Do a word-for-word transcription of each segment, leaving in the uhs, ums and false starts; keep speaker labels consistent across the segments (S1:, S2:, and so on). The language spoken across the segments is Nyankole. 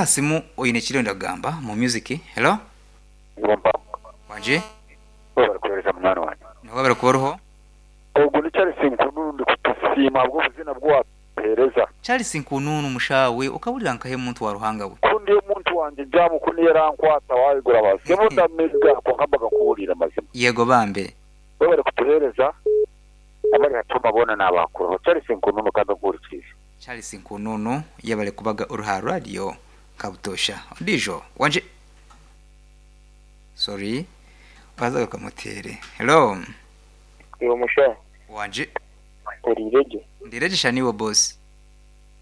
S1: Simu oine ekiriyo ndagamba mu music. Hello? Wangi?
S2: Webale kuwereza munywani wange.
S1: Webale kuba oriho.
S2: Ogu ni Charles Nkununu ndikutusiima ahabw'obuzina bw'owapereza.
S1: Charles Nkununu mushawe okabulira nkahe muntu wa Ruhanga we.
S2: Ku ndi omuntu wangye jaamu ku niyo erankwata waigura bazimu ndamiga kwonka mbaga nkubuuriire amazima.
S1: Yego bambe.
S2: Webale kutuheereza abari hatuma boona nabakuraho. Charles Nkununu kandi nkuhurikiize.
S1: Charles Nkununu yebale kubaga ori ha radio kabutosha. Ondiijo wanje Sorry. Bazaga kamutere. Hello.
S3: Iwe musha
S1: Wanje
S3: oriiregye
S1: ndirejesha niwe boss.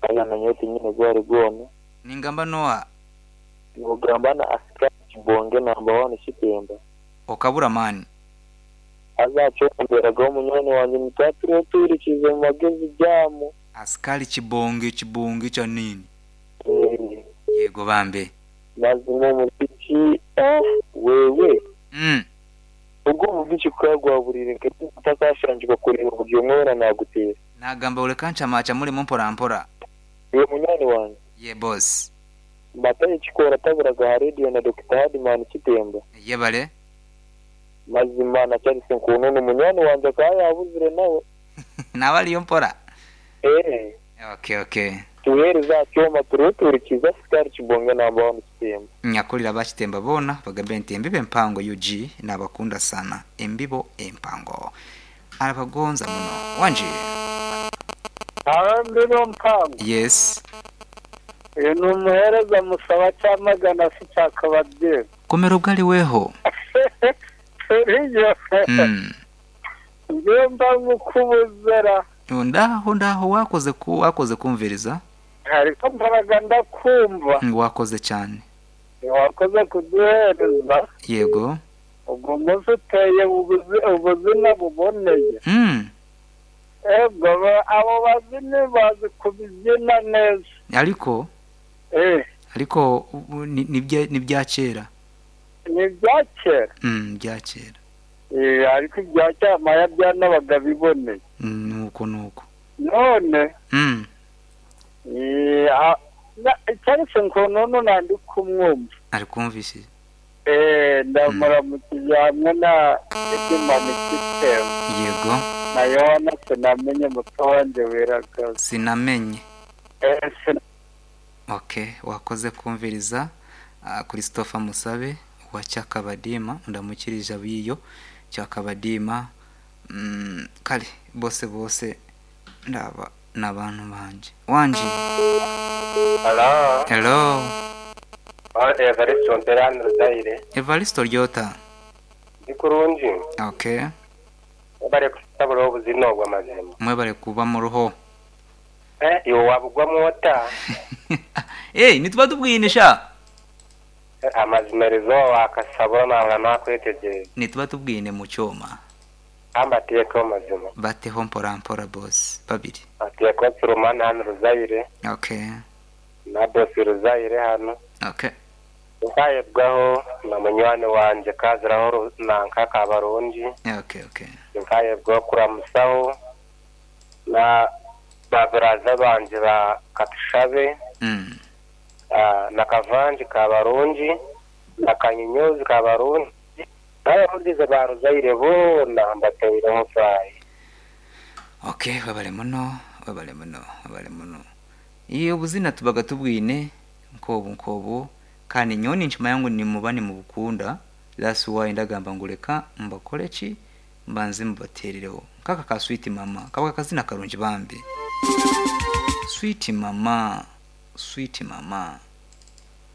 S3: agamanya oti nyine gwari gwona
S1: Ningamba Noah
S3: nogamba na asikari kibonge namba wani kitemba
S1: okabura mani.
S3: azakyomberagaho omunywani wangye nitwaturiho tuhurikiize mu magezi gyamu
S1: Askari kibonge kibonge cha nini?
S3: Eh,
S1: Yego bambe.
S3: mazima omuziki eh, wewe
S1: Mm.
S3: ubwo omuziki kukagwaburire nkatakashangirwa kureba buri omwe weena naguteera
S1: Nagamba uleka nchamacha mulimo mpora mpora.
S3: iwe munywani wange
S1: Ye boss.
S3: mbataye kikora taburaga ha rediyo na Dr Hardman Kitemba
S1: Yebale.
S3: mazima na Charles Nkununu munywani wangye akaba yabuzire nawe
S1: Nabaliyo mpora.
S3: eh
S1: Okay okay.
S3: tuheereza aha kyoma turiho tuhurikiize asikari kibonge namba wani kitemba
S1: Nyakulira bakitemba bona bagambe nti embibo empango U G nabakunda sana embibo empango arabagonza muno wanje.
S4: Aho mbibo mpango
S1: Yes.
S4: uyu ni umuhereza musaba cyamagana se cyakababyeyi
S1: Komero bwali weho.
S4: turiyo
S1: Mm.
S4: ngiyo mba nkukubuzera
S1: Ndaho ndaho wakoze ku wakoze kumviriza
S4: ariko mbaraga ndakumva
S1: wakoze cyane.
S4: wakoze kuduhereza
S1: Yego.
S4: ubwo munsi uteye ubuzi- ubuzina buboneye
S1: Mm.
S4: ego ba- abo bazini bazi kubyina neza
S1: Ariko
S4: eh
S1: ariko ubu ni ni bya kera.
S4: ni ibya kera
S1: Mm, bya kera.
S4: Eh, ariko ibya cyamaya byanabaga biboneye
S1: Mm, nuko nuko.
S4: none
S1: Mm.
S4: eh, a- na- Charles Nkununu nandi kumwumva
S1: Ari kumvishije.
S4: Eh, ndamuramukije hamwe na Edimani Kitemba
S1: Yego.
S4: na Yohana sinamenye muto wanjye wiragaza
S1: Sinamenye.
S4: Eh, sin-
S1: Okay, wakoze kumviriza uh, Christopher Musabe wa Cyakabadima ndamukirije abiyo Cyakabadima mm, kale bose bose ndaba nabantu banje wanje.
S5: Hello.
S1: Hello.
S5: Evaristo Mperani Ruzaire.
S1: Evaristo Ryota.
S5: Ndi kurungi.
S1: Okay.
S5: Bari kusabura obuzina obwa mazima.
S1: Mwebale kuba mu ruho.
S5: Eh, iwe wabugwamu ota.
S1: Eh, nituba tubwinisha.
S5: Eh, amazima rizo wakasabura nabura nakwetegereza.
S1: Nituba tubwine mu cyoma.
S5: Amba atiyeko mazima.
S1: Bateho mpora mpora boss babiri.
S5: Atiyeko Surumani hano Ruzaire.
S1: Okay.
S5: Na boss Ruzaire hano.
S1: Okay.
S5: Nkayebwaho na munywani wanje kaziraho Ru- nanka Kabarungi.
S1: Okay, okay.
S5: Nkayebwaho kuramusaho na baburaza banje ba Katushabe.
S1: Mm.
S5: Ah, na kavanji kabarungi na kanyunyuzi kabarungi n'abavugizi ba Ruzaire boona mbateireho furayi.
S1: Okay, wabale muno, wabale muno, wabale muno. Iyo buzina tubaga tubwine nkobu nkobu kandi nyoni nchima yangu ni mubani mu bukunda. That's why ndagamba nguleka mbakole ki mbanze mubaterereho. Kaka ka sweet mama, kaba kazina karungi bambi. Sweet mama, sweet mama.